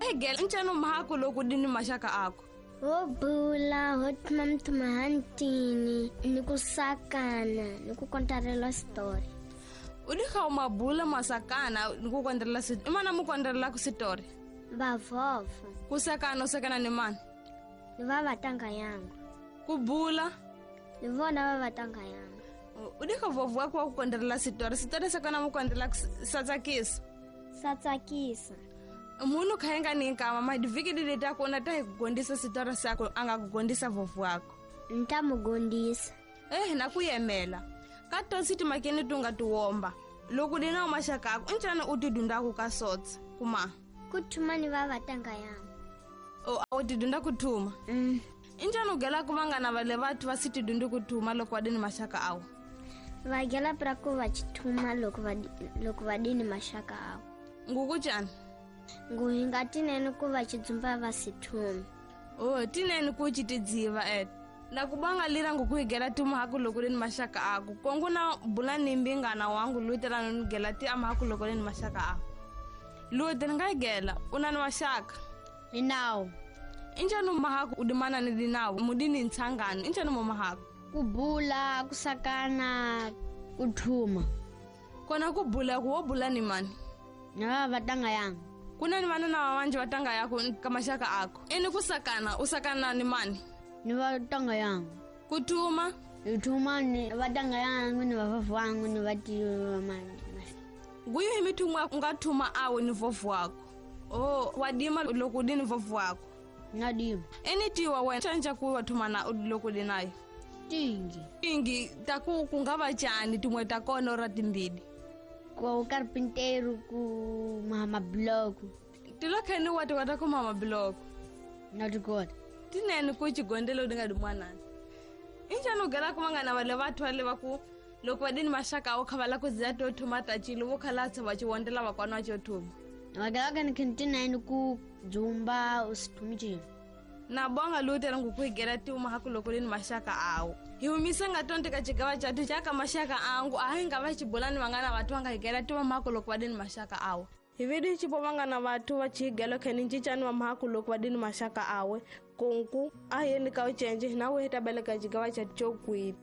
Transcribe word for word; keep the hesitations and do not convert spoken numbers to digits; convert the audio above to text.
Egela ncano mahako loko dini maxaka ako. Ho bula ho thuma mthuma hantini ni ku sakana ni ku kontarela story. U di kha mabula masakana ni ku kontarela story. Imana mu kontarela ku story? Bavovo. Ku sakana u sakana ni mani? Ni va vatanga yangu. Ku bula? Ni vona va vatanga yangu. U di kha vovo wa ku kontarela story. Story sakana mu kontarela sa tsakisa. Sa tsakisa. Munhu kha nga ni nkama madivhiki leti ta kona ta hi ku gondisa sitori sako a nga ku gondisa vovo wako. Ni ta mu gondisa. Eh na ku yemela. Ka tosi timakeni tu nga tiwomba. Loko di na maxaka ako ncana u ti dundaku ka sotsa kuma. Ku thuma ni va vatanga yangu. O a u ti dunda ku thuma. Mm. Injani u gela ku vangana va le vathu va si ti dundi ku thuma loko va dini maxaka awo. Va gela pra ku va chithuma loko va loko va dini maxaka awo. Nguku cani? Nguhinga tinene ku va chidzumba va sithumi. Oh, tinene ku chitidziva eh. Na kubanga lira ngukuhigela timu haku loko ri ni maxaka ako. Kongu na bula ni mbingana wangu lutela no gela ti ama haku loko ri ni maxaka ako. Lutela nga gela una ni maxaka. Ni nawo. Injani mahaku udimana ni dinawo mudini ntsangano injani mo mahaku? Kubula, kusakana, kuthuma. Kona kubula ku wo bula ni mani? Na va vatanga yangu. Kuna ni vana na vavanje vatanga yako ka maxaka ako. Eni kusakana usakana ni mani? Ni vatanga yangu. Kuthuma? Ithuma ni vatanga yangu ni vavovo wangu ni vatiwa mani. Nguyo hi mithumwa u nga thuma awe ni vovo wako. Oh, wadima loko di ni vovo wako. Nadima. Eni tiwa wena canja ku wa thuma na loko di nayo. Tingi. Tingi ta ku ku nga va cani tin'we ta kona ra timbili. Ku carpinteiro ku mama bloco. Tilokheni wa ti ku mama bloco. Na tikota. Tinene ku chigondelo di nga di mwanana. Injani u gela ku vangana va le vathu va le va ku loko va dini maxaka awo kha va la ku ziya to thuma ta chilo vo khalatsa va chiwondela vakwana va cho thuma. Va gela ka ni tinene ku dzumba u si thumi chilo. Na bonga lutela ngukuhigela tiuma haku loko ri ni maxaka awo. Hi humise nga tonti ka xigava xa ka maxaka angu a hi nga va xibulani vangana vathu va nga higela tiuma mahaku loko va dini maxaka awo. Hi vidi xipo vangana vathu va chihigelo kheni ncicani wa mahaku loko va dini maxaka awe. Kunku a yeni ka ucenje na we ta beleka xigava xa xo kwihi.